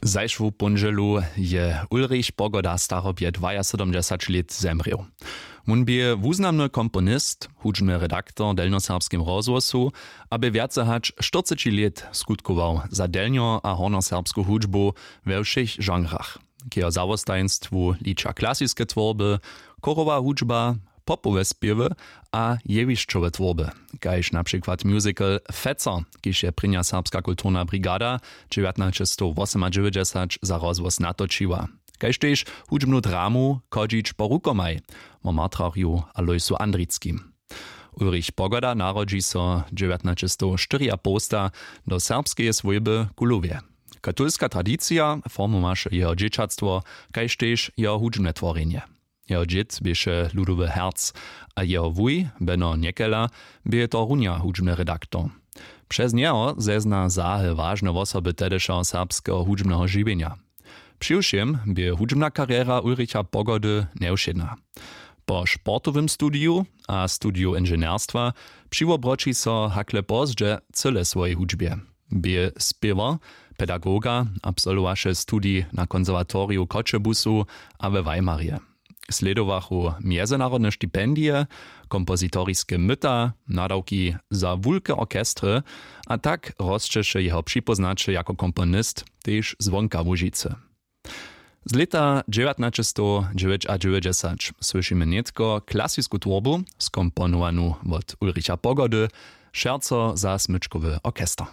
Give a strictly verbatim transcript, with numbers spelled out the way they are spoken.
Zašłu póndźelu je Ulrich Pogoda, starobje dwajasydomdźesać lět, zemrěł. Wón bě wuznamny komponist, hudźbny redaktor w delnjoserbskim rozhłosu a bě wjace hač štyrceći lět skutkował za delnjo a hornjoserbsku hudźbu we wšěch žanrach. K jeho zawostajeństwu liča klasiske twórby, chórowa hudźba, popowe spěwy a jewišćowe twórby, kaž na přikład musical Feco, kiž je prěnja serbska kulturna brigada dźewjatnaćestowosomadźewjećdźesać za rozhłos natočiła, kaž tež hudźbnu dramu Chodźić po rukomaj wo martrarju Alojsu Andrickim. Ulrich Pogoda narodźi so dźewjatnaćestowštyriapołsta do serbskeje swójby w Kulowje. Katolska tradicija formowaše jeho dźěćatstwo, kaž tež jeho hudźbne tworjenje. Jeho dźěd běše ludowy herc a jeho wuj Beno Njekela bě torunja hudźbny redaktor. Přez njeho zezna zahe wažne wosoby tehdyšeho serbskeho hudźbneho žiwjenja. Přiwšěm bě hudźbna karjera Ulricha Pogody njewšědna. Po sportowym studiju a studiju inženjerstwa přiwobroći so hakle pozdźe cyle swojej hudźbje. Bě spěwar, pedagoga, absolwowaše studij na konserwatoriju w Choćebuzu a we Weimarje. Slědowachu mjezynarodne stipendije, kompozitoriske myta, nadawki za wulke orchestry, a tak rosćeše jeho připóznaće jako komponist tež zwonka Łužicy. Z lěta dźewjatnaćestowdźewjećadźewjećdźesać słyšimy nětko klasisku twórbu, skomponowanu wot Ulricha Pogody, Šerco za smyčkowy orchester.